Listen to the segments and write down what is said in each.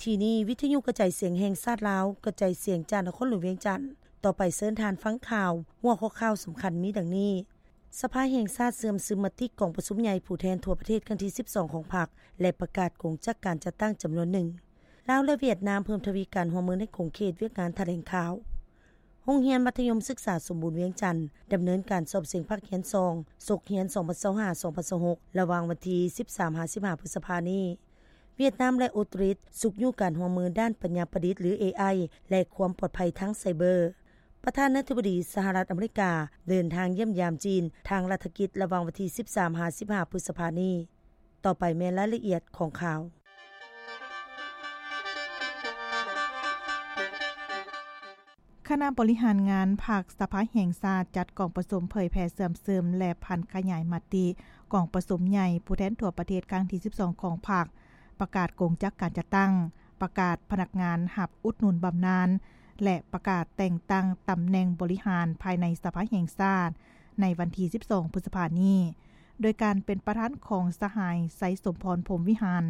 ທີ່ນີ້ ວິທະຍຸກະຈາຍສຽງແຫ່ງຊາດລາວ ກະຈາຍສຽງຈາກນະຄອນຫຼວງວຽງຈັນ. ຕໍ່ໄປເຊີນທ່ານຟັງຂ່າວ. ຫົວຂໍ້ຂ່າວສຳຄັນມີດັ່ງນີ້: ສະພາແຫ່ງຊາດເຊື່ອມຊຶມມະຕິກອງປະຊຸມໃຫຍ່ຜູ້ແທນທົ່ວປະເທດຄັ້ງທີສິບສອງຂອງພັກ ແລະ ປະກາດກົງຈັກການຈັດຕັ້ງຈຳນວນໜຶ່ງ. ລາວ ແລະ ຫວຽດນາມເພີ່ມທະວີການຮ່ວມມືໃນຂົງເຂດວຽກງານຖະແຫຼງຂ່າວ. ໂຮງຮຽນມັດທະຍົມສຶກສາສົມບູນວຽງຈັນ ດຳເນີນການສອບເສັງພາກຮຽນສອງ ສົກຮຽນສອງພັນຊາວຫ້າ ສອງພັນຊາວຫົກ ລະຫວ່າງວັນທີສິບສາມຫາສິບຫ້າ ພຶດສະພານີ້. ຫວຽດນາມ ແລະ ອົດສະຕາລີ ຊຸກຍູ້ການຮ່ວມມືດ້ານປັນຍາປະດິດ ຫຼື ເອໄອ ແລະ ຄວາມປອດໄພທາງໄຊເບີ. ປະທານາທິບໍດີສະຫະລັດອາເມລິກາ ເດີນທາງຢ້ຽມຢາມຈີນ ທາງລັດຖະກິດ ລະຫວ່າງວັນທີສິບສາມຫາສິບຫ້າ ພຶດສະພານີ້. ຕໍ່ໄປແມ່ນລາຍລະອຽດຂອງຂ່າວ. ຄະນະບໍລິຫານງານພັກສະພາແຫ່ງຊາດ ຈັດກອງປະຊຸມເຜີຍແຜ່ເຊື່ອມຊຶມ ແລະ ຜັນຂະຫຍາຍມະຕິກອງປະຊຸມໃຫຍ່ຜູ້ແທນທົ່ວປະເທດຄັ້ງທີສິບສອງຂອງພັກ, ປະກາດກົງຈັກການຈັດຕັ້ງ, ປະກາດພະນັກງານຮັບອຸດໜູນບຳນານ ແລະ ປະກາດແຕ່ງຕັ້ງຕຳແໜ່ງບໍລິຫານພາຍໃນສະພາແຫ່ງຊາດ ໃນວັນທີສິບສອງ ພຶດສະພານີ້ ໂດຍການເປັນປະທານຂອງສະຫາຍ ໄຊສົມພອນ ພົມວິຫານ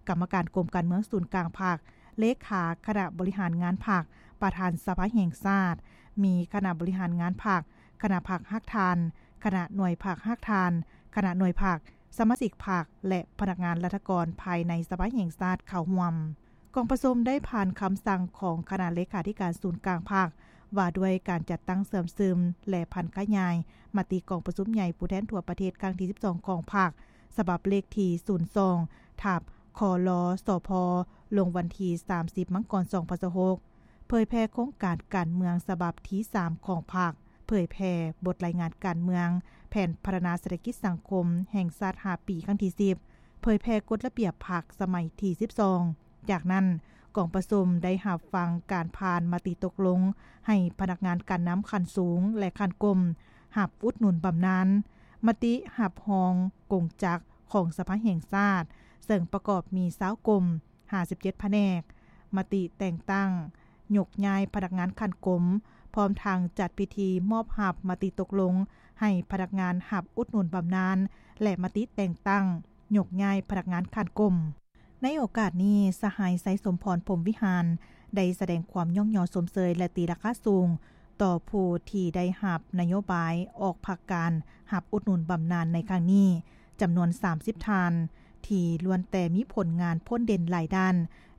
ກຳມະການກົມການເມືອງສູນກາງພັກ, ເລຂາຄະນະບໍລິຫານງານພັກ, ປະທານສະພາແຫ່ງຊາດ, ມີຄະນະບໍລິຫານງານພັກ, ຄະນະພັກຮາກຖານ, ຄະນະໜ່ວຍພັກຮາກຖານ, ຄະນະໜ່ວຍພັກ, ສະມາຊິກພັກ ແລະ ພະນັກງານລັດຖະກອນພາຍໃນສະພາແຫ່ງຊາດເຂົ້າຮ່ວມ. ກອງປະຊຸມໄດ້ຜ່ານຄຳສັ່ງຂອງຄະນະເລຂາທິການສູນກາງພັກ ວ່າດ້ວຍການຈັດຕັ້ງເຊື່ອມຊຶມ ແລະ ຜັນຂະຫຍາຍມະຕິກອງປະຊຸມໃຫຍ່ຜູ້ແທນທົ່ວປະເທດຄັ້ງທີສິບສອງຂອງພັກ ສະບັບເລກທີສູນສອງ ທັບ ຄລ ສພ ລົງວັນທີສາມສິບ ມັງກອນ ສອງພັນຊາວຫົກ ເຜີຍແຜ່ໂຄງການການເມືອງສະບັບທີສາມຂອງພັກ, ເຜີຍແຜ່ບົດລາຍງານການເມືອງ, ແຜນພັດທະນາເສດຖະກິດສັງຄົມແຫ່ງຊາດຫ້າປີ ຄັ້ງທີສິບ, ເຜີຍແຜ່ກົດລະບຽບພັກສະໄໝທີສິບສອງ. ຈາກນັ້ນ, ກອງປະຊຸມໄດ້ຮັບຟັງການຜ່ານມະຕິຕົກລົງໃຫ້ພະນັກງານການນຳຂັ້ນສູງ ແລະ ຂັ້ນກົ້ມ ຮັບອຸດໜູນບຳນານ, ມະຕິຮັບຮອງກົງຈັກຂອງສະພາແຫ່ງຊາດ, ເຊິ່ງປະກອບມີຊາວກົມ, ຫ້າສິບເຈັດພະແນກ, ມະຕິແຕ່ງຕັ້ງຍົກຍ້າຍພະນັກງານຂັ້ນກົມ, ພ້ອມທັງຈັດພິທີມອບຮັບມະຕິຕົກລົງໃຫ້ພະນັກງານຮັບອຸດໜູນບຳນານ ແລະ ມະຕິແຕ່ງຕັ້ງຍົກຍ້າຍພະນັກງານຂັ້ນກົ້ມ. ໃນໂອກາດນີ້, ສະຫາຍ ໄຊສົມພອນ ພົມວິຫານ ໄດ້ສະແດງຄວາມຍ້ອງຍໍຊົມເຊີຍ ແລະ ຕີລາຄາສູງຕໍ່ຜູ້ທີ່ໄດ້ຮັບນະໂຍບາຍອອກພັກການຮັບອຸດໜູນບຳນານໃນຄັ້ງນີ້ ຈຳນວນສາມສິບທ່ານ ທີ່ລ້ວນແຕ່ມີຜົນງານພົ້ນເດັ່ນຫຼາຍດ້ານ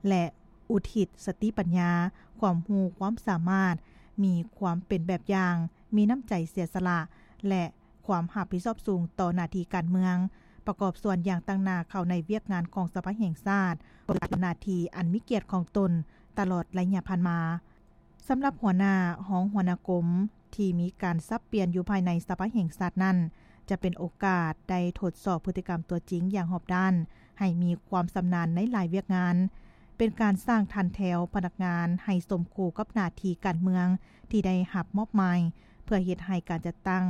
ແລະ ອຸທິດສະຕິປັນຍາ, ຄວາມຮູ້ຄວາມສາມາດ, ມີຄວາມເປັນແບບຢ່າງ, ມີນ້ຳໃຈເສຍສະຫຼະ ແລະ ຄວາມຮັບຜິດຊອບສູງຕໍ່ໜ້າທີ່ການເມືອງ, ປະກອບສ່ວນຢ່າງຕັ້ງໜ້າເຂົ້າໃນວຽກງານຂອງສະພາແຫ່ງຊາດ, ປະຕິບັດໜ້າທີ່ອັນມີກຽດຂອງຕົນຕະຫຼອດໄລຍະຜ່ານມາ. ສຳລັບຫົວໜ້າ, ຮອງຫົວໜ້າກົມທີ່ມີການສັບປ່ຽນຢູ່ພາຍໃນສະພາແຫ່ງຊາດນັ້ນ, ຈະເປັນໂອກາດໄດ້ທົດສອບພຶດຕິກຳຕົວຈິງຢ່າງຮອບດ້ານ, ໃຫ້ມີຄວາມຊຳນານໃນຫຼາຍວຽກງານ, ເປັນການສ້າງຖັນແຖວພະນັກງານໃຫ້ສົມຄູ່ກັບໜ້າທີ່ການເມືອງທີ່ໄດ້ຮັບມອບໝາຍ, ເພື່ອເຮັດໃຫ້ການຈັດຕັ້ງ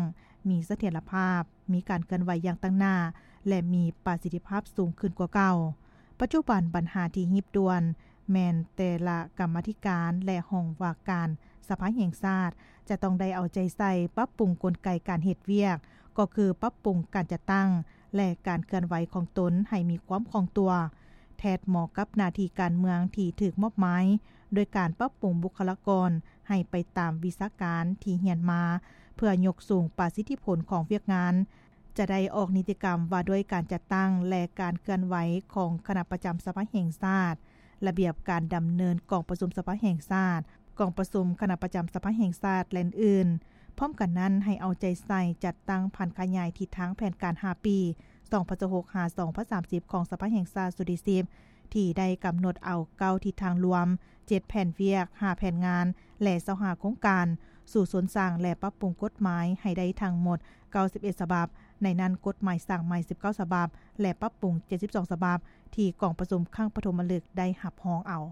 ມີສະຖຽນລະພາບ, ມີການເຄື່ອນໄຫວຢ່າງຕັ້ງໜ້າ ແລະ ມີປະສິດທິພາບສູງຂຶ້ນກວ່າເກົ່າ. ປັດຈຸບັນບັນຫາທີ່ຮີບດ່ວນແມ່ນແຕ່ລະກຳມາທິການ ແລະ ຫ້ອງວ່າການສະພາແຫ່ງຊາດ ຈະຕ້ອງໄດ້ເອົາໃຈໃສ່ປັບປຸງກົນໄກການເຮັດວຽກ, ກໍຄືປັບປຸງການຈັດຕັ້ງ ແລະ ການເຄື່ອນໄຫວຂອງຕົນໃຫ້ມີຄວາມຄ່ອງຕົວ, ແທດເໝາະກັບໜ້າທີ່ການເມືອງທີ່ຖືກມອບໝາຍ, ໂດຍການປັບປຸງບຸກຄະລາກອນໃຫ້ໄປຕາມວິຊາການທີ່ຮຽນມາ, ເພື່ອຍົກສູງປະສິດທິຜົນຂອງວຽກງານ. ຈະໄດ້ອອກນິຕິກຳວ່າດ້ວຍການຈັດຕັ້ງ ແລະ ການເຄື່ອນໄຫວຂອງຄະນະປະຈຳສະພາແຫ່ງຊາດ, ລະບຽບການດຳເນີນກອງປະຊຸມສະພາແຫ່ງຊາດ, ກອງປະຊຸມຄະນະປະຈຳສະພາແຫ່ງຊາດ ແລະ ອື່ນໆ. ພ້ອມກັນນັ້ນ, ໃຫ້ເອົາໃຈໃສ່ຈັດຕັ້ງຜັນຂະຫຍາຍທິດທາງແຜນການຫ້າປີ ສອງພັນຊາວຫົກ ຫາ ສອງພັນສາມສິບ ຂອງສະພາແຫ່ງຊາດຊຸດທີສິບ ທີ່ໄດ້ກຳນົດເອົາເກົ້າທິດທາງລວມ, ເຈັດແຜນວຽກ, ຫ້າແຜນງານ ແລະ ຊາວຫ້າໂຄງການ ສູ່ສູນສ້າງ ແລະ ປັບປຸງກົດໝາຍໃຫ້ໄດ້ທັງໝົດເກົ້າສິບເອັດສະບັບ, ໃນນັ້ນກົດໝາຍສ້າງໃໝ່ສິບເກົ້າສະບັບ ແລະ ປັບປຸງເຈັດສິບສອງສະບັບ ທີ່ກອງປະຊຸມຄັ້ງປະຖົມມະລຶກໄດ້ຮັບຮອງເອົາ.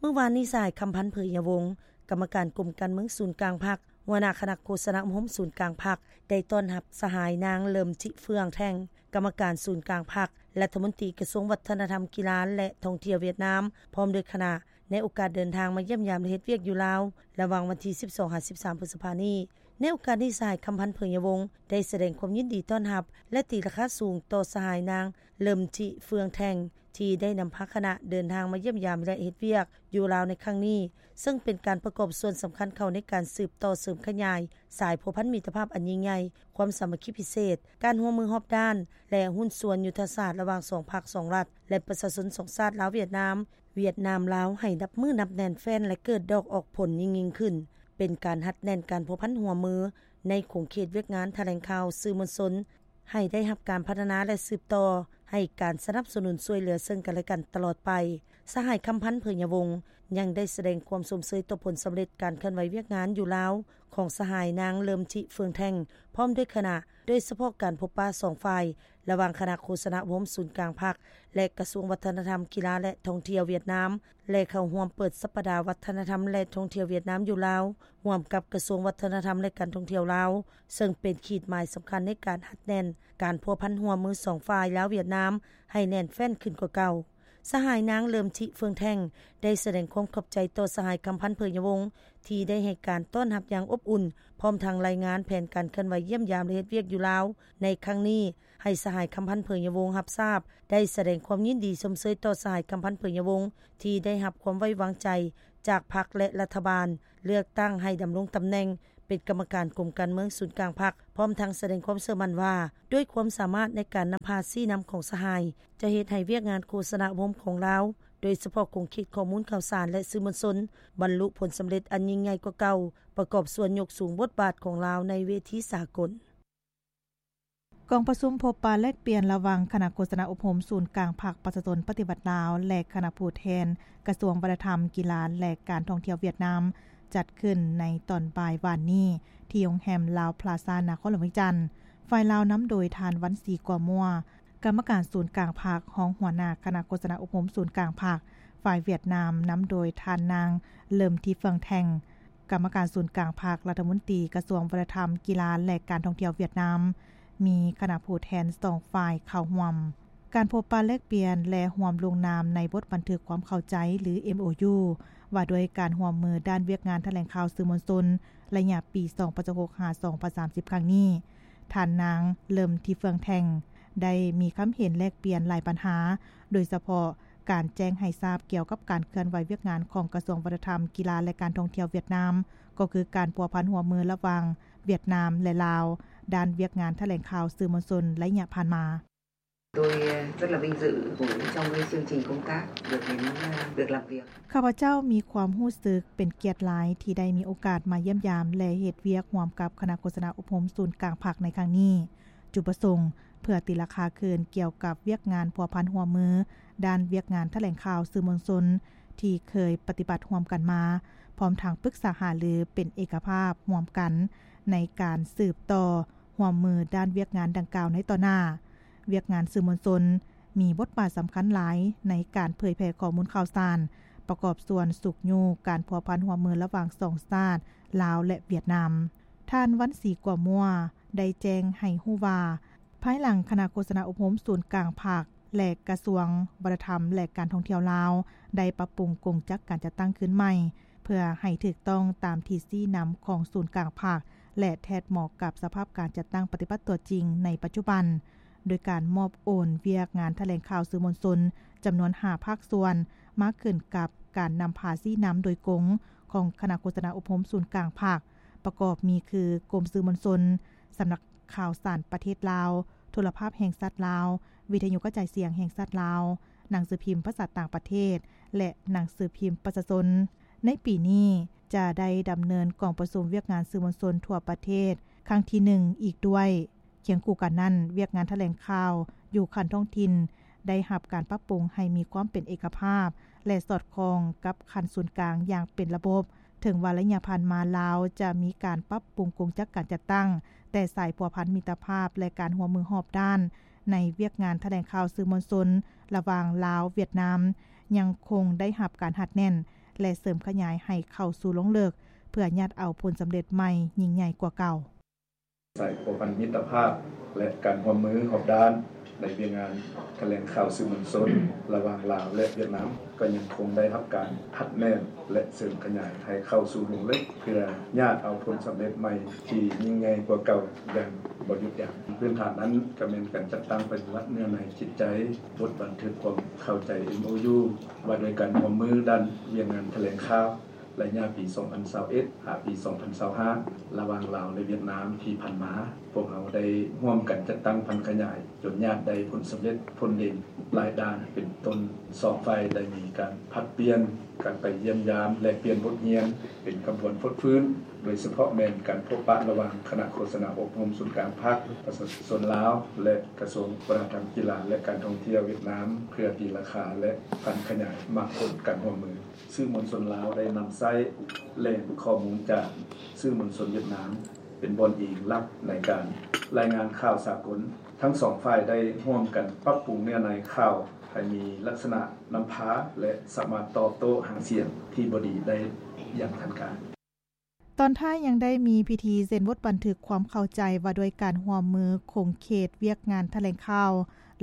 ມື້ວານນີ້ ສະຫາຍ ຄຳພັນ ເຜີຍຍະວົງ ກຳມະການກົມການເມືອງສູນກາງພັກ, ຫົວໜ້າຄະນະໂຄສະນາອົບຮົມສູນກາງພັກ ໄດ້ຕ້ອນຮັບສະຫາຍນາງ ເລີມຈິເຟືອງແທ່ງ ກຳມະການສູນກາງພັກ, ລັດຖະມົນຕີກະຊວງວັດທະນະທຳ, ກິລາ ແລະ ທ່ອງທ່ຽວຫວຽດນາມ ພ້ອມດ້ວຍຄະນະ ໃນໂອກາດເດີນທາງມາຢ້ຽມຢາມ ແລະ ເຮັດວຽກຢູ່ລາວ ລະຫວ່າງວັນທີສິບສອງ ຫາ ສິບສາມ ພຶດສະພານີ້. ໃນໂອກາດນີ້ ສະຫາຍ ຄຳພັນ ເຜີຍຍະວົງ ໄດ້ສະແດງຄວາມຍິນດີຕ້ອນຮັບ ແລະ ຕີລາຄາສູງຕໍ່ສະຫາຍນາງ ເລີມຈິເຟືອງແທ່ງ ທີ່ໄດ້ນຳພາຄະນະເດີນທາງມາຢ້ຽມຢາມ ແລະ ເຮັດວຽກຢູ່ລາວໃນຄັ້ງນີ້, ເຊິ່ງເປັນການປະກອບສ່ວນສຳຄັນເຂົ້າໃນການສືບຕໍ່ເສີມຂະຫຍາຍສາຍພົວພັນມິດຕະພາບອັນຍິ່ງໃຫຍ່, ຄວາມສາມັກຄີພິເສດ, ການຮ່ວມມືຮອບດ້ານ ແລະ ຫຸ້ນສ່ວນຍຸດທະສາດລະຫວ່າງສອງພັກສອງລັດ ແລະ ປະຊາຊົນສອງຊາດ ລາວ-ຫວຽດນາມ, ຫວຽດນາມ-ລາວ ໃຫ້ນັບມື້ນັບແໜ້ນແຟ້ນ ແລະ ເກີດດອກອອກຜົນຍິ່ງໆຂຶ້ນ, ເປັນການຮັດແໜ້ນການພົວພັນຮ່ວມມືໃນຂົງເຂດວຽກງານຖະແຫຼງຂ່າວສື່ມວນຊົນ ໃຫ້ໄດ້ຮັບການພັດທະນາ ແລະ ສືບຕໍ່ໃຫ້ການສະໜັບສະໜູນຊ່ວຍເຫຼືອເຊິ່ງກັນແລະກັນຕະຫຼອດໄປ. ສະຫາຍ ຄຳພັນ ເຜີຍຍະວົງ ຍັງໄດ້ສະແດງຄວາມຊົມເຊີຍຕໍ່ຜົນສຳເລັດການເຄື່ອນໄຫວວຽກງານຢູ່ລາວຂອງສະຫາຍນາງ ເລີມທິ ເຟືອງແທ່ງ ພ້ອມດ້ວຍຄະນະ, ໂດຍສະເພາະການພົບປະສອງຝ່າຍ ລະຫວ່າງຄະນະໂຄສະນາອົບຮົມສູນກາງພັກ ແລະ ກະຊວງວັດທະນະທຳ, ກິລາ ແລະ ທ່ອງທ່ຽວຫວຽດນາມ ແລະ ເຂົ້າຮ່ວມເປີດສັບປະດາວັດທະນະທຳ ແລະ ທ່ອງທ່ຽວຫວຽດນາມຢູ່ລາວ ຮ່ວມກັບກະຊວງວັດທະນະທຳ ແລະ ການທ່ອງທ່ຽວລາວ, ເຊິ່ງເປັນຂີດໝາຍສຳຄັນໃນການຮັດແໜ້ນການພົວພັນຮ່ວມມືສອງຝ່າຍ ລາວ-ຫວຽດນາມ ໃຫ້ແໜ້ນແຟ້ນຂຶ້ນກວ່າເກົ່າ. ສະຫາຍນາງ ເລີມທິ ເຟືອງແທ່ງ ໄດ້ສະແດງຄວາມຂອບໃຈຕໍ່ສະຫາຍ ຄຳພັນ ເຜີຍຍະວົງ ທີ່ໄດ້ໃຫ້ການຕ້ອນຮັບຢ່າງອົບອຸ່ນ, ພ້ອມທັງລາຍງານແຜນການເຄື່ອນໄຫວຢ້ຽມຢາມ ແລະ ເຮັດວຽກຢູ່ລາວໃນຄັ້ງນີ້ ໃຫ້ສະຫາຍ ຄຳພັນ ເຜີຍຍະວົງ ຮັບຊາບ, ໄດ້ສະແດງຄວາມຍິນດີຊົມເຊີຍຕໍ່ສະຫາຍ ຄຳພັນ ເຜີຍຍະວົງ ທີ່ໄດ້ຮັບຄວາມໄວ້ວາງໃຈຈາກພັກ ແລະ ລັດຖະບານ ເລືອກຕັ້ງໃຫ້ດຳລົງຕຳແໜ່ງເປັນກຳມະການກົມການເມືອງສູນກາງພັກ, ພ້ອມທັງສະແດງຄວາມເຊື່ອໝັ້ນວ່າ ດ້ວຍຄວາມສາມາດໃນການນຳພາຊີ້ນຳຂອງສະຫາຍ ຈະເຮັດໃຫ້ວຽກງານໂຄສະນາອົບຮົມຂອງລາວ, ໂດຍສະເພາະຂົງເຂດຂໍ້ມູນຂ່າວສານ ແລະ ສື່ມວນຊົນ ບັນລຸຜົນສຳເລັດອັນຍິ່ງໃຫຍ່ກວ່າເກົ່າ, ປະກອບສ່ວນຍົກສູງບົດບາດຂອງລາວໃນເວທີສາກົນ. ກອງປະຊຸມພົບປະແລກປ່ຽນລະຫວ່າງຄະນະໂຄສະນາອົບຮົມສູນກາງພັກປະຊາຊົນປະຕິວັດລາວ ແລະ ຄະນະຜູ້ແທນກະຊວງວັດທະນະທຳ, ກິລາ ແລະ ການທ່ອງທ່ຽວຫວຽດນາມ ຈັດຂຶ້ນໃນຕອນບ່າຍວານນີ້ ທີ່ໂຮງແຮມລາວພລາຊາ ນະຄອນຫຼວງວຽງຈັນ. ຝ່າຍລາວນຳໂດຍທ່ານ ວັນສີ ກົວມົວ ກຳມະການສູນກາງພັກ, ຮອງຫົວໜ້າຄະນະໂຄສະນາອົບຮົມສູນກາງພັກ, ຝ່າຍຫວຽດນາມນຳໂດຍທ່ານນາງ ເລີມທີ ເຟືອງແທ່ງ ກຳມະການສູນກາງພັກ, ລັດຖະມົນຕີກະຊວງວັດທະນະທຳ, ກິລາ ແລະ ການທ່ອງທ່ຽວຫວຽດນາມ, ມີຄະນະຜູ້ແທນສອງຝ່າຍເຂົ້າຮ່ວມ. ການພົບປະແລກປ່ຽນ ແລະ ຮ່ວມລົງນາມໃນບົດບັນທຶກຄວາມເຂົ້າໃຈ ຫຼື ເອັມໂອຢູ ວ່າດ້ວຍການຮ່ວມມືດ້ານວຽກງານຖະແຫຼງຂ່າວສື່ມວນຊົນ ໄລຍະປີສອງພັນຊາວຫົກ ຫາ ສອງພັນສາມສິບ ຄັ້ງນີ້, ທ່ານນາງ ເລີມທີ ເຟືອງແທ່ງ ໄດ້ມີຄຳເຫັນແລກປ່ຽນຫຼາຍບັນຫາ, ໂດຍສະເພາະການແຈ້ງໃຫ້ຊາບກ່ຽວກັບການເຄື່ອນໄຫວວຽກງານຂອງກະຊວງວັດທະນະທຳ, ກິລາ ແລະ ການທ່ອງທ່ຽວຫວຽດນາມ, ກໍຄືການພົວພັນຮ່ວມມືລະຫວ່າງຫວຽດນາມ ແລະ ລາວ ດ້ານວຽກງານຖະແຫຼງຂ່າວສື່ມວນຊົນໄລຍະຜ່ານມາ. Tôi rất là vinh dự của trong cái chương trình công tác được đến, ơ, được làm việc. ຂ້າພະເຈົ້າມີຄວາມຮູ້ສຶກເປັນກຽດຫຼາຍທີ່ໄດ້ມີໂອກາດມາຢ້ຽມຢາມ ແລະ ເຮັດວຽກຮ່ວມກັບຄະນະໂຄສະນາອົບຮົມສູນກາງພັກໃນຄັ້ງນີ້. ຈຸດປະສົງເພື່ອຕີລາຄາຄືນກ່ຽວກັບວຽກງານພົວພັນຮ່ວມມືດ້ານວຽກງານຖະແຫຼງຂ່າວສື່ມວນຊົນທີ່ເຄີຍປະຕິບັດຮ່ວມກັນມາ, ພ້ອມທັງປຶກສາຫາລືເປັນເອກະພາບຮ່ວມກັນໃນການສືບຕໍ່ຮ່ວມມືດ້ານວຽກງານດັ່ງກ່າວໃນຕໍ່ໜ້າ. ວຽກງານສື່ມວນຊົນມີບົດບາດສຳຄັນຫຼາຍໃນການເຜີຍແຜ່ຂໍ້ມູນຂ່າວສານ, ປະກອບສ່ວນຊຸກຍູ້ການພົວພັນຮ່ວມມືລະຫວ່າງສອງຊາດ ລາວ ແລະ ຫວຽດນາມ. ທ່ານ ວັນສີ ກົວມົວ ໄດ້ແຈ້ງໃຫ້ຮູ້ວ່າ, ພາຍຫຼັງຄະນະໂຄສະນາອົບຮົມສູນກາງພັກ ແລະ ກະຊວງວັດທະນະທຳ ແລະ ການທ່ອງທ່ຽວລາວ ໄດ້ປັບປຸງກົງຈັກການຈັດຕັ້ງຄືນໃໝ່ ເພື່ອໃຫ້ຖືກຕ້ອງຕາມທິດຊີ້ນຳຂອງສູນກາງພັກ ແລະ ແທດເໝາະກັບສະພາບການຈັດຕັ້ງປະຕິບັດຕົວຈິງໃນປັດຈຸບັນ, ໂດຍການມອບໂອນວຽກງານຖະແຫຼງຂ່າວສື່ມວນຊົນຈຳນວນຫ້າພາກສ່ວນ ມາຂຶ້ນກັບການນຳພາຊີ້ນຳໂດຍກົງຂອງຄະນະໂຄສະນາອົບຮົມສູນກາງພັກ, ປະກອບມີຄື ກົມສື່ມວນຊົນ, ສຳນັກ ຂ່າວສານປະເທດລາວ, ໂທລະພາບແຫ່ງຊາດລາວ, ວິທະຍຸກະຈາຍສຽງແຫ່ງຊາດລາວ, ໜັງສືພິມພາສາຕ່າງປະເທດ ແລະ ໜັງສືພິມປະຊາຊົນ. ໃນປີນີ້ຈະໄດ້ດຳເນີນກອງປະຊຸມວຽກງານສື່ມວນຊົນທົ່ວປະເທດຄັ້ງທີໜຶ່ງອີກດ້ວຍ. ຄຽງຄູ່ກັນນັ້ນ, ວຽກງານຖະແຫຼງຂ່າວຢູ່ຂັ້ນທ້ອງຖິ່ນໄດ້ຮັບການປັບປຸງໃຫ້ມີຄວາມເປັນເອກະພາບ ແລະ ສອດຄ່ອງກັບຂັ້ນສູນກາງຢ່າງເປັນລະບົບ. ເຖິງວ່າໄລຍະຜ່ານມາລາວຈະມີການປັບປຸງກົງຈັກການຈັດຕັ້ງ, ແຕ່ສາຍພົວພັນມິດຕະພາບ ແລະ ການຮ່ວມມືຮອບດ້ານໃນວຽກງານຖະແຫຼງຂ່າວສື່ມວນຊົນລະຫວ່າງລາວ-ຫວຽດນາມ ຍັງຄົງໄດ້ຮັບການຮັດແໜ້ນ ແລະ ເສີມຂະຫຍາຍໃຫ້ເຂົ້າສູ່ລົງເລິກ ເພື່ອຍາດເອົາຜົນສຳເລັດໃໝ່ຍິ່ງໃຫຍ່ກວ່າເກົ່າ. ສາຍພົວພັນມິດຕະພາບ ແລະ ການຮ່ວມມືຮອບດ້ານ ໃນວຽກງານຖະແຫຼງຂ່າວສື່ມວນຊົນລະຫວ່າງລາວ ແລະ ຫວຽດນາມ ກໍຍັງຄົງໄດ້ຮັບການຮັດແໜ້ນ ແລະ ເສີມຂະຫຍາຍໃຫ້ເຂົ້າສູ່ລົງເລິກ ເພື່ອຍາດເອົາຜົນສຳເລັດໃໝ່ທີ່ຍິ່ງໃຫຍ່ກວ່າເກົ່າຢ່າງບໍ່ຢຸດຢັ້ງ. ພື້ນຖານນັ້ນກໍແມ່ນການຈັດຕັ້ງປະຕິບັດເນື້ອໃນຈິດໃຈ ບົດບັນທຶກຄວາມເຂົ້າໃຈ ເອັມໂອຢູ ວ່າດ້ວຍການຮ່ວມມືດ້ານວຽກງານຖະແຫຼງຂ່າວ ໄລຍະປີສອງພັນຊາວເອັດ ຫາປີສອງພັນຊາວຫ້າ ລະຫວ່າງລາວ ແລະ ຫວຽດນາມທີ່ຜ່ານມາ, ພວກເຮົາໄດ້ຮ່ວມກັນຈັດຕັ້ງຜັນຂະຫຍາຍ ຈົນຍາດໄດ້ຜົນສຳເລັດພົ້ນເດັ່ນຫຼາຍດ້ານ ເປັນຕົ້ນ ສອງຝ່າຍໄດ້ມີການຜັດປ່ຽນການໄປຢ້ຽມຢາມ ແລກປ່ຽນບົດຮຽນເປັນຂະບວນຟົດຟື້ນ, ໂດຍສະເພາະແມ່ນການພົບປະລະຫວ່າງຄະນະໂຄສະນາອົບຮົມສູນກາງພັກ, ປະຊາຊົນລາວ ແລະ ກະຊວງວັດທະນະທຳ, ກິລາ ແລະ ການທ່ອງທ່ຽວຫວຽດນາມ ເພື່ອຕີລາຄາ ແລະ ຜັນຂະຫຍາຍໝາກຜົນການຮ່ວມມື. ສື່ມວນຊົນລາວໄດ້ນຳໃຊ້ແຫຼ່ງຂໍ້ມູນຈາກສື່ມວນຊົນຫວຽດນາມ ເປັນບ່ອນອີງຫຼັກໃນການລາຍງານຂ່າວສາກົນ. ທັງສອງຝ່າຍໄດ້ຮ່ວມກັນປັບປຸງເນື້ອໃນຂ່າວໃຫ້ມີລັກສະນະນຳພາ ແລະ ສາມາດຕອບໂຕ້ຫາງສຽງທີ່ບໍ່ດີໄດ້ຢ່າງທັນການ. ຕອນທ້າຍຍັງໄດ້ມີພິທີເຊັນບົດບັນທຶກຄວາມເຂົ້າໃຈວ່າດ້ວຍການຮ່ວມມືຂົງເຂດວຽກງານຖະແຫຼງຂ່າວ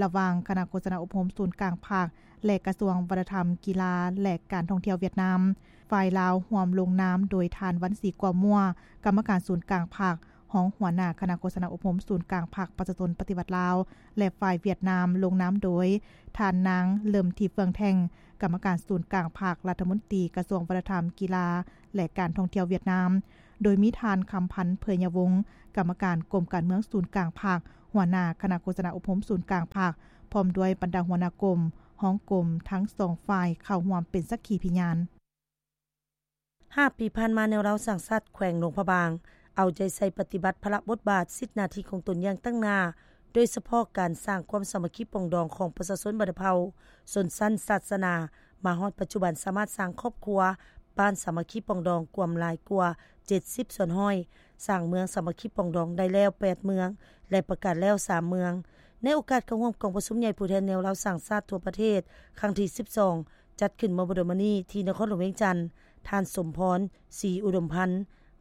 ລະຫວ່າງຄະນະໂຄສະນາອົບຮົມສູນກາງພັກ ແລະ ກະຊວງວັດທະນະທຳ, ກິລາ ແລະ ການທ່ອງທ່ຽວຫວຽດນາມ. ຝ່າຍລາວຮ່ວມລົງນາມໂດຍທ່ານ ວັນສີ ກົວມົວ ກຳມະການສູນກາງພັກ, ຮອງຫົວໜ້າຄະນະໂຄສະນາອົບຮົມສູນກາງພັກປະຊາຊົນປະຕິວັດລາວ ແລະ ຝ່າຍຫວຽດນາມລົງນາມໂດຍທ່ານນາງ ເລິມທິບ ເຟືອງແທ່ງ ກຳມະການສູນກາງພັກ, ລັດຖະມົນຕີກະຊວງວັດທະນະທຳ, ກິລາ ແລະ ການທ່ອງທ່ຽວຫວຽດນາມ, ໂດຍມີທ່ານ ຄຳພັນ ເຜີຍຍະວົງ ກຳມະການກົມການເມືອງສູນກາງພັກ, ຫົວໜ້າຄະນະໂຄສະນາອົບຮົມສູນກາງພັກ ພ້ອມດ້ວຍບັນດາຫົວໜ້າກົມ, ຮອງກົມ ທັງສອງຝ່າຍເຂົ້າຮ່ວມເປັນສັກຂີພິຍານ. ຫ້າປີຜ່ານມາ, ແນວລາວສ້າງຊາດແຂວງຫຼວງພະບາງ ເອົາໃຈໃສ່ປະຕິບັດພາລະບົດບາດ, ສິດໜ້າທີ່ຂອງຕົນຢ່າງຕັ້ງໜ້າ, ໂດຍສະເພາະການສ້າງຄວາມສາມັກຄີປອງດອງຂອງປະຊາຊົນບັນດາເຜົ່າ, ຊົນຊັ້ນ, ສາສະໜາ, ມາຮອດປັດຈຸບັນສາມາດສ້າງຄອບຄົວ, ບ້ານສາມັກຄີປອງດອງກວມຫຼາຍກວ່າເຈັດສິບສ່ວນຮ້ອຍ, ສ້າງເມືອງສາມັກຄີປອງດອງໄດ້ແລ້ວແປດເມືອງ ແລະ ປະກາດແລ້ວສາມເມືອງ. ໃນໂອກາດເຂົ້າຮ່ວມກອງປະຊຸມໃຫຍ່ຜູ້ແທນແນວລາວສ້າງຊາດທົ່ວປະເທດ ຄັ້ງທີສິບສອງ ຈັດຂຶ້ນເມື່ອບໍ່ດົນມານີ້ທີ່ນະຄອນຫຼວງວຽງຈັນ, ທ່ານ ສົມພອນ ສີອຸດົມພັນ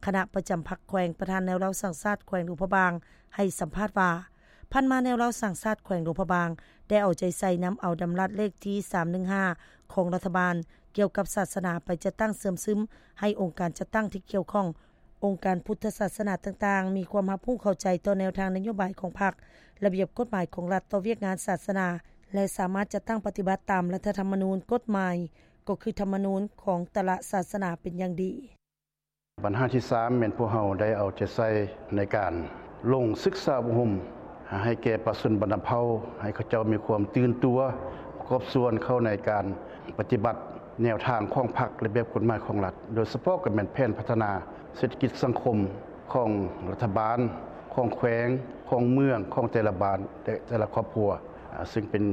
ຄະນະປະຈຳພັກແຂວງ, ປະທານແນວລາວສ້າງຊາດແຂວງຫຼວງພະບາງ ໃຫ້ສຳພາດວ່າ, ຜ່ານມາແນວລາວສ້າງຊາດແຂວງຫຼວງພະບາງ ໄດ້ເອົາໃຈໃສ່ນຳເອົາດຳລັດເລກທີສາມໜຶ່ງຫ້າ ຂອງລັດຖະບານ ກ່ຽວກັບສາສະໜາໄປຈັດຕັ້ງເຊື່ອມຊຶມໃຫ້ອົງການຈັດຕັ້ງທີ່ກ່ຽວຂ້ອງ, ອົງການພຸດທະສາສະໜາຕ່າງໆ ມີຄວາມຮັບຮູ້ເຂົ້າໃຈຕໍ່ແນວທາງນະໂຍບາຍຂອງພັກ, ລະບຽບກົດໝາຍຂອງລັດ, ຕໍ່ວຽກງານສາສະໜາ ແລະ ສາມາດຈັດຕັ້ງປະຕິບັດຕາມລັດຖະທຳມະນູນ, ກົດໝາຍ, ກໍຄືທຳມະນູນຂອງແຕ່ລະສາສະໜາເປັນຢ່າງດີ. ບັນຫາທີສາມ ແມ່ນພວກເຮົາໄດ້ເອົາໃຈໃສ່ໃນການລົງສຶກສາອົບຮົມ ໃຫ້ແກ່ປະຊາຊົນບັນດາເຜົ່າ ໃຫ້ເຂົາເຈົ້າມີຄວາມຕື່ນຕົວ ປະກອບສ່ວນເຂົ້າໃນການປະຕິບັດແນວທາງຂອງພັກ ລະບຽບກົດໝາຍຂອງລັດ, ໂດຍສະເພາະກໍແມ່ນແຜນພັດທະນາເສດຖະກິດສັງຄົມຂອງລັດຖະບານ, ຂອງແຂວງ, ຂອງເມືອງ, ຂອງແຕ່ລະບ້ານ ແລະ ແຕ່ລະຄອບຄົວ, ອາ, ຊຶ່ງເປັນ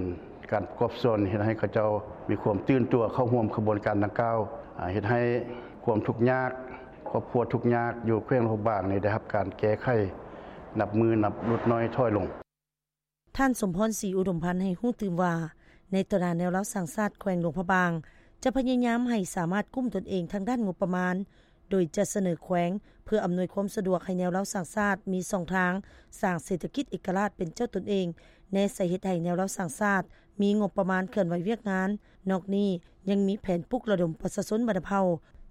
ການປະກອບສ່ວນເຮັດໃຫ້ເຂົາເຈົ້າມີຄວາມຕື່ນຕົວເຂົ້າຮ່ວມຂະບວນການດັ່ງກ່າວ, ອາ, ເຮັດໃຫ້ຄວາມທຸກຍາກ, ຄອບຄົວທຸກຍາກຢູ່ແຂວງຫຼວງພະບາງນີ້ໄດ້ຮັບການແກ້ໄຂ ນັບມື້ນັບຫຼຸດນ້ອຍຖອຍລົງ. ທ່ານ ສົມພອນ ສີອຸດົມພັນ ໃຫ້ຮູ້ຕື່ມວ່າ, ໃນຕໍ່ໜ້າແນວລາວສ້າງຊາດແຂວງຫຼວງພະບາງ ຈະພະຍາຍາມໃຫ້ສາມາດກຸ້ມຕົນເອງທາງດ້ານງົບປະມານ, ໂດຍຈະສະເໜີແຂວງເພື່ອອຳນວຍຄວາມສະດວກໃຫ້ແນວລາວສ້າງຊາດມີຊ່ອງທາງສ້າງເສດຖະກິດເອກະລາດເປັນເຈົ້າຕົນເອງ, ແນໃສ່ເຮັດໃຫ້ແນວລາວສ້າງຊາດມີງົບປະມານເຄື່ອນໄຫວວຽກງານ. ນອກນີ້ຍັງມີແຜນປຸກລະດົມປະຊາຊົນບັນດາເຜົ່າ,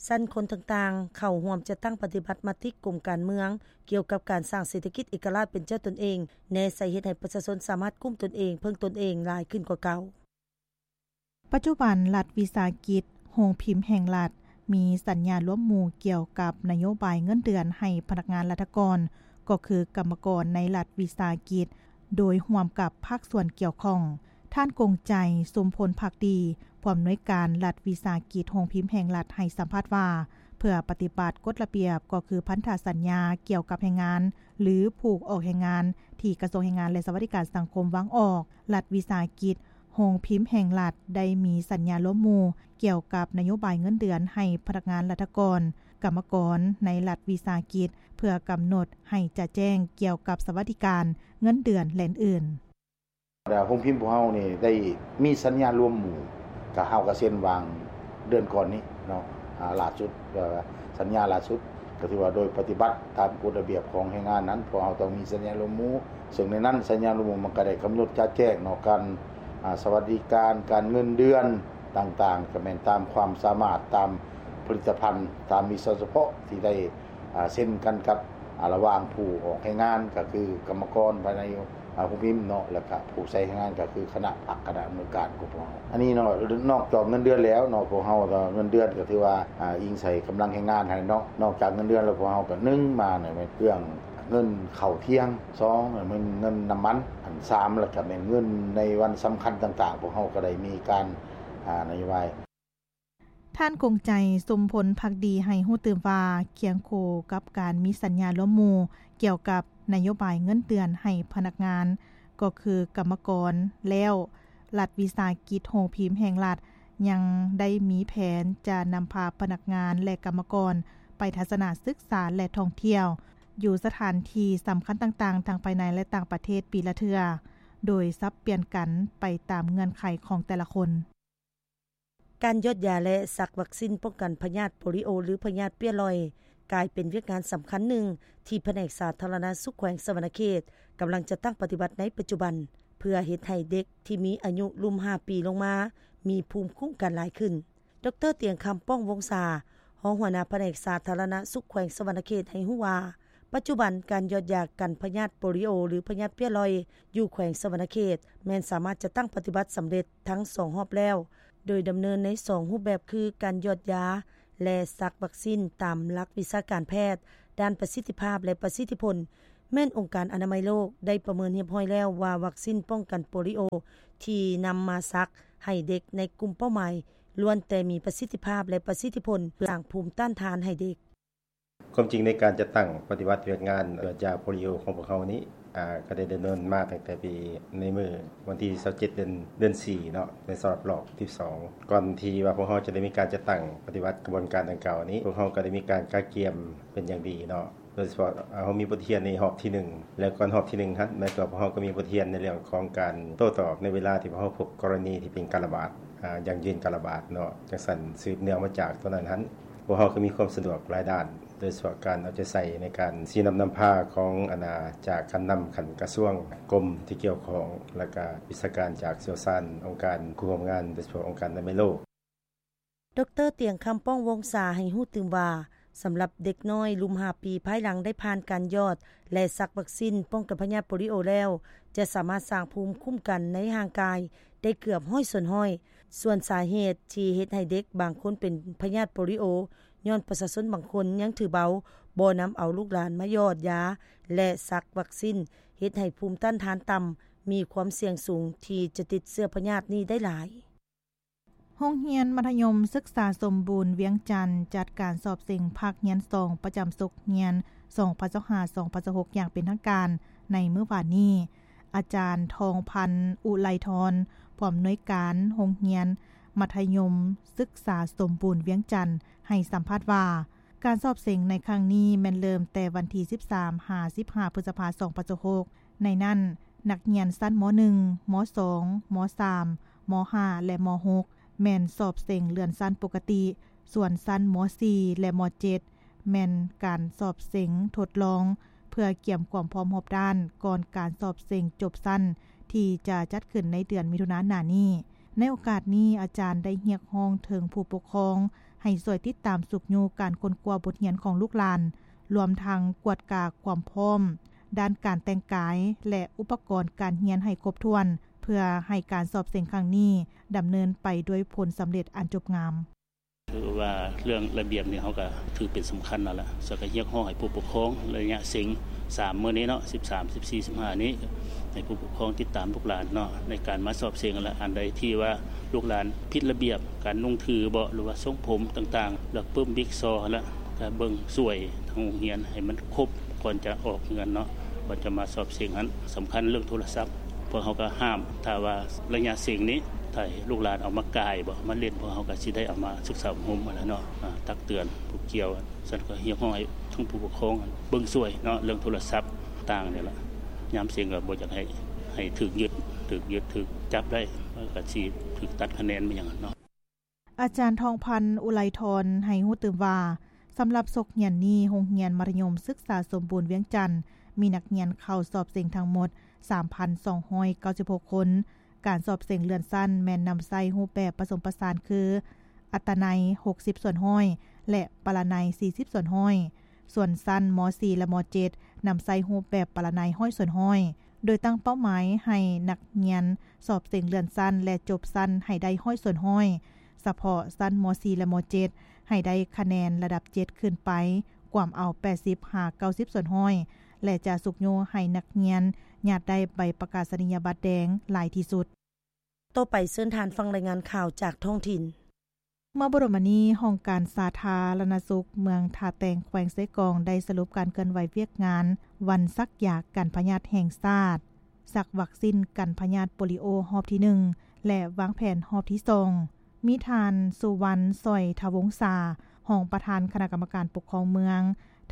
ຊັ້ນຄົນຕ່າງໆ ເຂົ້າຮ່ວມຈັດຕັ້ງປະຕິບັດມະຕິກົມການເມືອງ ກ່ຽວກັບການສ້າງເສດຖະກິດເອກະລາດເປັນເຈົ້າຕົນເອງ, ແນໃສ່ເຮັດໃຫ້ປະຊາຊົນສາມາດກຸ້ມຕົນເອງ, ເພິ່ງຕົນເອງຫຼາຍຂຶ້ນກວ່າເກົ່າ. ປັດຈຸບັນ ລັດວິສາຫະກິດໂຮງພິມແຫ່ງລັດ ມີສັນຍາລວມໝູ່ກ່ຽວກັບນະໂຍບາຍເງິນເດືອນໃຫ້ພະນັກງານລັດຖະກອນ, ກໍຄືກຳມະກອນໃນລັດວິສາຫະກິດ, ໂດຍຮ່ວມກັບພາກສ່ວນກ່ຽວຂ້ອງ. ທ່ານ ກົງໃຈ ຊຸມພົນພັກດີ, ຜູ້ອຳນວຍການລັດວິສາຫະກິດໂຮງພິມແຫ່ງລັດ ໃຫ້ສຳພາດວ່າ, ເພື່ອປະຕິບັດກົດລະບຽບ ກໍຄືພັນທະສັນຍາກ່ຽວກັບແຮງງານ ຫຼື ຜູ້ອອກແຮງງານ ທີ່ກະຊວງແຮງງານ ແລະ ສະຫວັດດີການສັງຄົມວາງອອກ, ລັດວິສາຫະກິດ ໂຮງພິມແຫ່ງລັດ ໄດ້ມີສັນຍາລວມໝູ່ກ່ຽວກັບນະໂຍບາຍເງິນເດືອນໃຫ້ພະນັກງານລັດຖະກອນ, ກຳມະກອນໃນລັດວິສາຫະກິດ ເພື່ອກຳນົດໃຫ້ຈະແຈ້ງກ່ຽວກັບສະຫວັດດີການ, ເງິນເດືອນ ແລະ ອື່ນໆ. ໂຮງພິມພວກເຮົານີ້ໄດ້ມີສັນຍາລວມໝູ່ ກະເຮົາກະເຊັນວາງເດືອນກ່ອນນີ້ເນາະ, ອາ, ຫຼ້າສຸດ, ເອີ, ສັນຍາຫຼ້າສຸດ ກະຖືວ່າໂດຍປະຕິບັດຕາມກົດລະບຽບຂອງແຮງງານນັ້ນ ພວກເຮົາຕ້ອງມີສັນຍາລວມໝູ່ ເຊິ່ງໃນນັ້ນສັນຍາລົມມຸງມັນກໍໄດ້ກຳນົດຈະແຈ້ງເນາະ ການ ອາ ສະຫວັດດີການ ການເງິນເດືອນຕ່າງໆ ກໍແມ່ນຕາມຄວາມສາມາດ ຕາມຜະລິດຕະພັນ ຕາມວິຊາສະເພາະທີ່ໄດ້ ອາ ເຊັນກັນກັບ ອາ ລະຫວ່າງຜູ້ອອກແຮງງານ ກໍຄືກຳມະກອນພາຍໃນ ອາ ໂຮງພິມເນາະ ແລ້ວກະຜູ້ໃຊ້ແຮງງານ ກໍຄືຄະນະພັກ ຄະນະອຳນວຍການຂອງພວກເຮົາ. ອັນນີ້ເນາະ ນອກຈາກເງິນເດືອນແລ້ວເນາະ ພວກເຮົາກໍເງິນເດືອນກໍຖືວ່າ ອາ ອີງໃສ່ກຳລັງແຮງງານຫັ້ນເນາະ. ນອກຈາກເງິນເດືອນແລ້ວ ພວກເຮົາກໍ ໜຶ່ງ ມາແມ່ນເລື່ອງເງິນເຂົ້າທ່ຽງ, ສອງ ແມ່ນເງິນນ້ຳມັນ, ອັນ ສາມ ແລ້ວກໍແມ່ນເງິນໃນວັນສຳຄັນຕ່າງໆ ພວກເຮົາກໍໄດ້ມີການ ອາ ນະໂຍບາຍ. ທ່ານ ກົງໃຈ ສົມພົນພັກດີ ໃຫ້ຮູ້ຕື່ມວ່າ ຄຽງຄູ່ກັບການມີສັນຍາລວມໝູ່ກ່ຽວກັບນະໂຍບາຍເງິນເດືອນໃຫ້ພະນັກງານ ກໍຄືກຳມະກອນແລ້ວ, ລັດວິສາຫະກິດໂຮງພິມແຫ່ງລັດ ຍັງໄດ້ມີແຜນຈະນຳພາພະນັກງານ ແລະ ກຳມະກອນໄປທັດສະນະສຶກສາ ແລະ ທ່ອງທ່ຽວ ຢູ່ສະຖານທີ່ສຳຄັນຕ່າງໆ ທັງພາຍໃນ ແລະ ຕ່າງປະເທດປີລະເທື່ອ ໂດຍສັບປ່ຽນກັນໄປຕາມເງື່ອນໄຂຂອງແຕ່ລະຄົນ. ການຢອດຢາ ແລະ ສັກວັກຊິນປ້ອງກັນພະຍາດໂປລິໂອ ຫຼື ພະຍາດເປ້ຍລອຍ ກາຍເປັນວຽກງານສຳຄັນໜຶ່ງ ທີ່ພະແນກສາທາລະນະສຸກແຂວງສະຫວັນນະເຂດ ກຳລັງຈັດຕັ້ງປະຕິບັດໃນປັດຈຸບັນ ເພື່ອເຮັດໃຫ້ເດັກທີ່ມີອາຍຸລຸ່ມຫ້າປີລົງມາ ມີພູມຄຸ້ມກັນຫຼາຍຂຶ້ນ. ດຣ. ຕຽງຄຳ ປ້ອງວົງສາ, ຮອງຫົວໜ້າພະແນກສາທາລະນະສຸກແຂວງສະຫວັນນະເຂດ ໃຫ້ຮູ້ວ່າ ປັດຈຸບັນການຢອດຢາກັນພະຍາດໂປລິໂອ ຫຼື ພະຍາດເປ້ຍລອຍ ຢູ່ແຂວງສະຫວັນນະເຂດ ແມ່ນສາມາດຈັດຕັ້ງປະຕິບັດສຳເລັດທັງສອງຮອບແລ້ວ, ໂດຍດຳເນີນໃນສອງຮູບແບບຄື ການຢອດຢາ ແລະ ສັກວັກຊິນຕາມຫຼັກວິຊາການແພດ. ດ້ານປະສິດທິພາບ ແລະ ປະສິດທິຜົນ ແມ່ນອົງການອະນາໄມໂລກໄດ້ປະເມີນຮຽບຮ້ອຍແລ້ວວ່າ ວັກຊິນປ້ອງກັນໂປລິໂອທີ່ນຳມາສັກໃຫ້ເດັກໃນກຸ່ມເປົ້າໝາຍ ລ້ວນແຕ່ມີປະສິດທິພາບ ແລະ ປະສິດທິຜົນ ສ້າງພູມຕ້ານທານໃຫ້ເດັກ. ຄວາມຈິງໃນການຈັດຕັ້ງປະຕິບັດວຽກງານຢອດຢາໂປລິໂອຂອງພວກເຮົານີ້ ອາ ກໍໄດ້ດຳເນີນມາຕັ້ງແຕ່ປີ ໃນມື້ວັນທີຊາວເຈັດ ເດືອນ ເດືອນສີ່ເນາະ ໃນສຳລັບລອບສິບສອງ ກ່ອນທີ່ວ່າພວກເຮົາຈະໄດ້ມີການຈັດຕັ້ງປະຕິບັດຂະບວນການດັ່ງກ່າວນີ້ ພວກເຮົາກໍໄດ້ມີການກະກຽມເປັນຢ່າງດີເນາະ ໂດຍສະເພາະ ອາ ເຮົາມີບົດຮຽນໃນຮອບທີໜຶ່ງ ແລະ ກ່ອນຮອບທີໜຶ່ງຫັ້ນ ແມ່ນກໍພວກເຮົາກໍມີບົດຮຽນໃນເລື່ອງຂອງການໂຕ້ຕອບໃນເວລາທີ່ພວກເຮົາພົບກໍລະນີທີ່ເປັນການລະບາດ ອາ ຢັ້ງຢືນການລະບາດເນາະ ຈັ່ງຊັ້ນ ສືບເນື່ອງມາຈາກຕົວນັ້ນຫັ້ນ ພວກເຮົາກໍມີຄວາມສະດວກຫຼາຍດ້ານ ໂດຍສະເພາະການເອົາໃຈໃສ່ໃນການຊີ້ນຳນຳພາຂອງ ອັນ ອາ ຈາກຂັ້ນນຳຂັ້ນກະຊວງ ກົມທີ່ກ່ຽວຂ້ອງ ແລະ ກະວິຊາການຈາກຊ່ຽວຊານ ອົງການຄູ່ຮ່ວມງານ ໂດຍສະເພາະອົງການອະນາໄມໂລກ. ດຣ. ຕຽງຄຳ ປ້ອງວົງສາ ໃຫ້ຮູ້ຕື່ມວ່າ ສຳລັບເດັກນ້ອຍລຸ່ມຫ້າປີ ພາຍຫຼັງໄດ້ຜ່ານການຢອດ ແລະ ສັກວັກຊິນປ້ອງກັນພະຍາດໂປລິໂອແລ້ວ ຈະສາມາດສ້າງພູມຄຸ້ມກັນໃນຮ່າງກາຍໄດ້ເກືອບຮ້ອຍສ່ວນຮ້ອຍ. ສ່ວນສາເຫດທີ່ເຮັດໃຫ້ເດັກບາງຄົນເປັນພະຍາດໂປລິໂອ ຍ້ອນປະຊາຊົນບາງຄົນຍັງຖືເບົາ, ບໍ່ນຳເອົາລູກຫຼານມາຢອດຢາ ແລະ ສັກວັກຊິນ, ເຮັດໃຫ້ພູມຕ້ານທານຕ່ຳ, ມີຄວາມສ່ຽງສູງທີ່ຈະຕິດເຊື້ອພະຍາດນີ້ໄດ້ຫຼາຍ. ໂຮງຮຽນມັດທະຍົມສຶກສາສົມບູນວຽງຈັນ ຈັດການສອບເສັງພາກຮຽນສອງ ປະຈຳສົກຮຽນ ສອງພັນຊາວຫ້າ ສອງພັນຊາວຫົກ ຢ່າງເປັນທາງການໃນມື້ວານນີ້. ອາຈານ ທອງພັນ ອຸໄລທອນ ຜູ້ອຳນວຍການໂຮງຮຽນມັດທະຍົມສຶກສາສົມບູນວຽງຈັນ ໃຫ້ສຳພາດວ່າ ການສອບເສັງໃນຄັ້ງນີ້ແມ່ນເລີ່ມແຕ່ວັນທີສິບສາມ ຫາ ສິບຫ້າ ພຶດສະພາ ສອງພັນຊາວຫົກ ໃນນັ້ນ ນັກຮຽນຊັ້ນ ມໍໜຶ່ງ, ມໍສອງ, ມໍສາມ, ມໍຫ້າ ແລະ ມໍຫົກ ແມ່ນສອບເສັງເລື່ອນຊັ້ນປົກກະຕິ, ສ່ວນຊັ້ນ ມໍສີ່ ແລະ ມໍເຈັດ ແມ່ນການສອບເສັງທົດລອງ ເພື່ອກຽມຄວາມພ້ອມຮອບດ້ານກ່ອນການສອບເສັງຈົບຊັ້ນ ທີ່ຈະຈັດຂຶ້ນໃນເດືອນມິຖຸນາໜ້ານີ້. ໃນໂອກາດນີ້ ອາຈານໄດ້ຮຽກຮ້ອງເຖິງຜູ້ປົກຄອງໃຫ້ຊ່ວຍຕິດຕາມຊຸກຍູ້ການຄົ້ນຄວ້າບົດຮຽນຂອງລູກຫຼານ, ລວມທັງກວດກາຄວາມພ້ອມດ້ານການແຕ່ງກາຍ ແລະ ອຸປະກອນການຮຽນໃຫ້ຄົບຖ້ວນ ເພື່ອໃຫ້ການສອບເສັງຄັ້ງນີ້ດຳເນີນໄປດ້ວຍຜົນສຳເລັດອັນຈົບງາມ. ຄືວ່າເລື່ອງລະບຽບນີ້ ເຮົາກໍຖືເປັນສຳຄັນຫັ້ນລະ, ແລ້ວກໍຮຽກຮ້ອງໃຫ້ຜູ້ປົກຄອງໄລຍະເສັງສາມມື້ນີ້ເນາະ ສິບສາມ ສິບສີ່ ສິບຫ້ານີ້ ໃຫ້ຜູ້ປົກຄອງຕິດຕາມລູກຫຼານເນາະ ໃນການມາສອບເສັງຫັ້ນລະ. ອັນໃດທີ່ວ່າລູກຫຼານຜິດລະບຽບ ການນຸ່ງຖືເບາະ ຫຼືວ່າຊົງຜົມຕ່າງໆ ແລ້ວປຶ້ມບິກຊໍຫັ້ນລະ ກໍເບິ່ງຊ່ວຍທາງໂຮງຮຽນໃຫ້ມັນຄົບ ກ່ອນຈະອອກເຮືອນເນາະ ກ່ອນຈະມາສອບເສັງຫັ້ນ ສຳຄັນເລື່ອງໂທລະສັບ ພວກເຮົາກໍຫ້າມ. ຖ້າວ່າໄລຍະເສັງນີ້ ຖ້າໃຫ້ລູກຫຼານເອົາມາກ່າຍເບາະ ມາຫຼິ້ນ ພວກເຮົາກໍຊິໄດ້ເອົາມາສຶກສາອົບຮົມຫັ້ນລະເນາະ ອາ ຕັກເຕືອນຜູ້ກ່ຽວ. ຊັ້ນກໍຮຽກຮ້ອງໃຫ້ທັງຜູ້ປົກຄອງເບິ່ງຊ່ວຍເນາະ ເລື່ອງໂທລະສັບຕ່າງນີ້ລະ. ຍາມເສັງກໍບໍ່ຢາກໃຫ້ ໃຫ້ຖືກຍຶດ ຖືກຍຶດ ຖືກຈັບໄດ້ ກໍຊິຖືກຕັດຄະແນນໄປຫຍັງເນາະ. ອາຈານ ທອງພັນ ອຸໄລທອນ ໃຫ້ຮູ້ຕື່ມວ່າ ສຳລັບສົກຮຽນນີ້ ໂຮງຮຽນມັດທະຍົມສຶກສາສົມບູນວຽງຈັນ ມີນັກຮຽນເຂົ້າສອບເສັງທັງໝົດ ສາມພັນສອງຮ້ອຍເກົ້າສິບຫົກຄົນ. ການສອບເສັງເລື່ອນຊັ້ນແມ່ນນຳໃຊ້ຮູບແບບປະສົມປະສານຄື ອັດຕະໄນ ຫົກສິບສ່ວນຮ້ອຍ ແລະ ປະລະໄນ ສີ່ສິບສ່ວນຮ້ອຍ. ສ່ວນຊັ້ນ ມ.ສີ່ ແລະ ມ.ເຈັດ ນຳໃຊ້ຮູບແບບປະລະໄນ ຮ້ອຍສ່ວນຮ້ອຍ ໂດຍຕັ້ງເປົ້າໝາຍໃຫ້ນັກຮຽນສອບເສັງເລື່ອນຊັ້ນ ແລະ ຈົບຊັ້ນໃຫ້ໄດ້ ຮ້ອຍສ່ວນຮ້ອຍ. ສະເພາະຊັ້ນ ມ.ສີ່ ແລະ ມ.ເຈັດ ໃຫ້ໄດ້ຄະແນນລະດັບ ເຈັດ ຂຶ້ນໄປ ກວມເອົາ ແປດສິບຫາເກົ້າສິບສ່ວນຮ້ອຍ ແລະ ຈະຊຸກຍູ້ໃຫ້ນັກຮຽນຍາດໄດ້ໃບປະກາສະນີຍະບັດແດງຫຼາຍທີ່ສຸດ. ຕໍ່ໄປເຊີນທ່ານຟັງລາຍງານຂ່າວຈາກທ້ອງຖິ່ນ. ເມື່ອບໍ່ດົນມານີ້ ຫ້ອງການສາທາລະນະສຸກເມືອງທ່າແຕງ ແຂວງເຊກອງ ໄດ້ສະຫຼຸບການເຄື່ອນໄຫວວຽກງານວັນສັກຢາກັນພະຍາດແຫ່ງຊາດ, ສັກວັກຊິນກັນພະຍາດໂປລິໂອຮອບທີໜຶ່ງ ແລະ ວາງແຜນຮອບທີສອງ. ມີທ່ານ ສຸວັນ ສອຍທະວົງສາ ຮອງປະທານຄະນະກຳມະການປົກຄອງເມືອງ,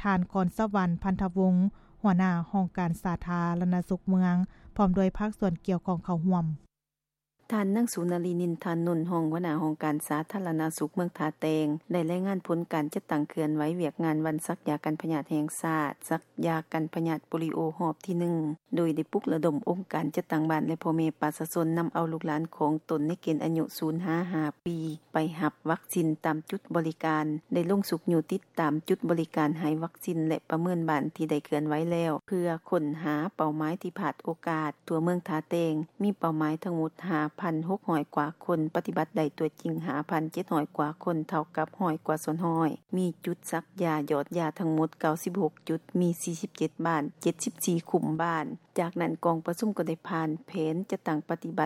ທ່ານ ກອນສະຫວັນ ພັນທະວົງ ຫົວໜ້າຫ້ອງການສາທາລະນະສຸກເມືອງ ພ້ອມດ້ວຍພາກສ່ວນກ່ຽວຂ້ອງເຂົ້າຮ່ວມ. ທ່ານ ນາງ ສຸນາລີ ນິນທານົນ ຮອງຫົວໜ້າຫ້ອງການສາທາລະນະສຸກເມືອງທ່າແຕງ ໄດ້ລາຍງານຜົນການຈັດຕັ້ງເຄື່ອນໄຫວວຽກງານວັນສັກຢາກັນພະຍາດແຫ່ງຊາດ, ສັກຢາກັນພະຍາດໂປລິໂອຮອບທີໜຶ່ງ ໂດຍໄດ້ປຸກລະດົມອົງການຈັດຕັ້ງບ້ານ ແລະ ພໍ່ແມ່ປະຊາຊົນ ນຳເອົາລູກຫຼານຂອງຕົນໃນເກນອາຍຸ ສູນ ຫາ ຫ້າ ປີ ໄປຮັບວັກຊິນຕາມຈຸດບໍລິການ, ໄດ້ລົງຊຸກຍູ້ຕິດຕາມຈຸດບໍລິການໃຫ້ວັກຊິນ ແລະ ປະເມີນບ້ານທີ່ໄດ້ເຄື່ອນໄຫວແລ້ວ ເພື່ອຄົ້ນຫາເປົ້າໝາຍທີ່ພາດໂອກາດ. ທົ່ວເມືອງທ່າແຕງ ມີເປົ້າໝາຍທັງໝົດ ຫ້າພັນຫົກຮ້ອຍກວ່າຄົນ, ປະຕິບັດໄດ້ຕົວຈິງ ຫ້າພັນເຈັດຮ້ອຍກວ່າຄົນ, ເທົ່າກັບ ຮ້ອຍກວ່າສ່ວນຮ້ອຍ. ມີຈຸດສັກຢາຢອດຢາທັງໝົດ ເກົ້າສິບຫົກຈຸດ, ມີ ສີ່ສິບເຈັດບ້ານ, ເຈັດສິບສີ່ຄຸ້ມບ້ານ. ຈາກນັ້ນ ກອງປະຊຸມກໍໄດ້ຜ່ານແຜນຈັດຕັ້ງປະຕິບັດ